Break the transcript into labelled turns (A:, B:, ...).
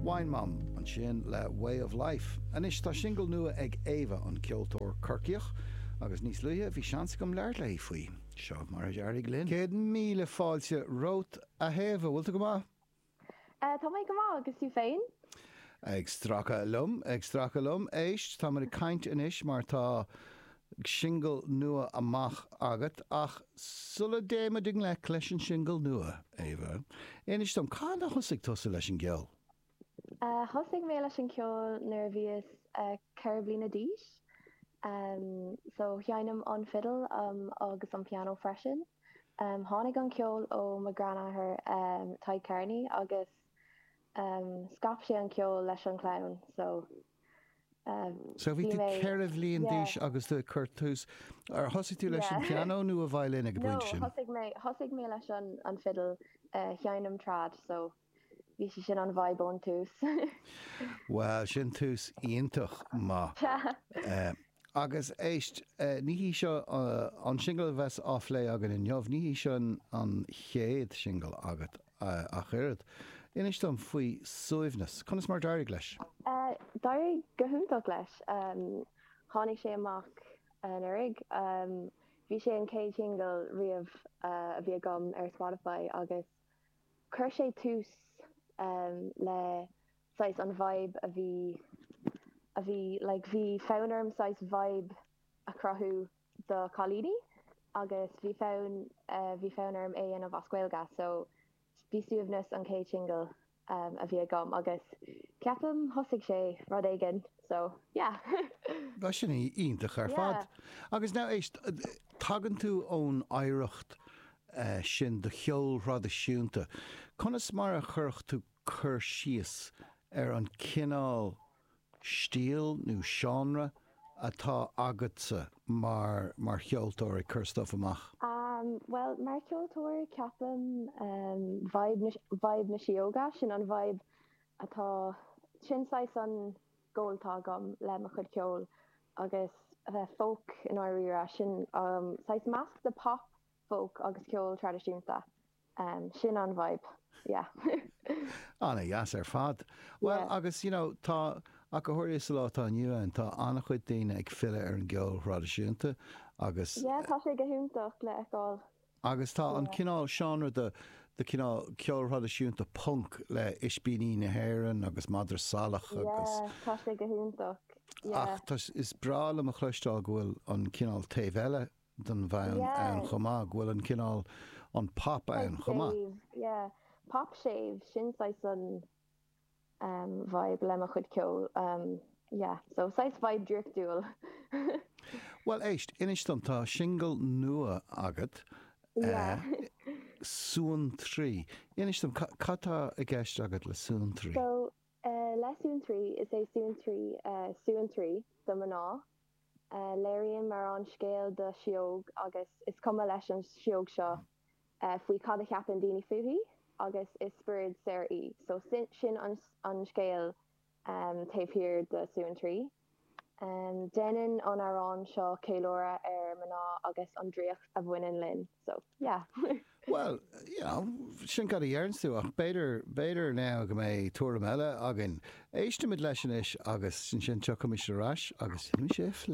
A: Wine Mom ansin le Way of Life. Anois tá singil nua ag Éabha, an ceoltóir Corcaíoch, agus níos luaithe bhí seans agam labhairt léi faoi. Seo mar a d'éirigh linn. 100,000 fáilte romhat, a hÉabha, bhfuil tú go maith?
B: Tá mé go maith, agus tú féin?
A: Ag stracadh liom, ag stracadh liom. Éist, táimid ag caint anois mar tá singil nua amach agat, ach sula dtéimid i ngleic leis an singil nua, Éabha, inis dom, cathain a thosaigh tusa leis an gceol?
B: Thosaigh mé leis an ceol nuair a bhíos 4 bliana d'aois. So, sheinnim an fidil agus an pianó freisin. Tháinig an ceol ó mo ghreanathair Tadhg Kearney agus scaip sé an ceol leis an chlann so
A: So bhí tú 4 bhliain d'aois agus tú ag cur tús, ar thosaigh tú leis an pianó nó an veidhlín ag an bpointe sin?
B: No, thosaigh mé, thosaigh mé leis an fidil, sheinnim trad so bhí sé sin an vibe ón tús.
A: Bhuel, sin tús iontach maith. Agus éist, ní hí seo an singil a bheas á phlé againn inniu, ní hí seo an chéad singil agat ach oiread. Inis dom faoi Suaimhneas. Conas mar d'éirigh leis?
B: D'éirigh go hiontach leis. Tháinig sé amach anuraidh. Bhí sé an chéad shingil riamh a bhí agam ar Spotify agus Chuir sé tús le saghas an vibe a bhí, a bhí, like bhí fonn orm saghas vibe a chruthú do chailíní agus bhí fonn, bhí fonn orm é a dhéanamh as Gaeilge so bhí Suaimhneas an chéad singil a bhí agam agus ceapaim thosaigh sé rud éigin so yeah.
A: Tá sin iontach ar fad. Agus now éist, tagann tú ón oidhreacht sin de cheol thraidisiúnta. Conas mar a chuirfeadh tú cur síos ar an cineál stíl nó seánra atá agatsa mar mar cheoltóir ag cur stuif amach?
B: Bhuel, mar cheoltóir, ceapaim vibe na vibe na síóga, sin an vibe atá, sin saghas an goal atá agam le mo chuid ceoil agus a bheith folk i ndáiríre, sin saghas measc de pop, folk agus ceol traidisiúnta. Sin an vibe, yeah.
A: Ana-dheas ar fad. Bhuel, agus you know, tá, ach go háirithe sa lá atá inniu ann, tá an-chuid daoine ag filleadh ar an gceol thraidisiúnta agus.
B: Yeah, tá sé go hiontach le feiceáil.
A: Agus tá an cineál seánra de, de cineál ceol thraidisiúnta punk le Ispíní na hÉireann agus Madra Salach agus.
B: Yeah, tá sé go hiontach,
A: yeah. Ach tá, is breá liom a chloisteáil go bhfuil an cineál taobh eile den mheán ann chomh maith, go bhfuil an cineál, an pop ann chomh maith.
B: Séimh, yeah. Pop séimh, sin saghas an vibe le mo chuid ceoil, yeah. So saghas vibe draíochtúil.
A: Bhuel éist, inis dom, tá singil nua agat, Suantraí. Inis dom, cad tá i gceist agat le Suantraí?
B: So, le Suantraí, is é Suantraí suantraí do mná. Léiríonn m'amhrán scéal do sióg agus is cuma leis an sióg seo faoi cad a cheapann daoine fúithi agus is spiorad saor í. So sin an scéal taobh thiar de Suantraí. Déanann an amhrán seo ceiliúradh ar mná agus an draíocht a bhaineann linn. So yeah.
A: Bhuel, you know, sin cad a dheireanns tú ach b'fhéidir, b'fhéidir now go mbeidh tuairim eile againn. Éistimid leis anois agus ansin tiocfaimis ar ais agus déanfaimis é a phlé.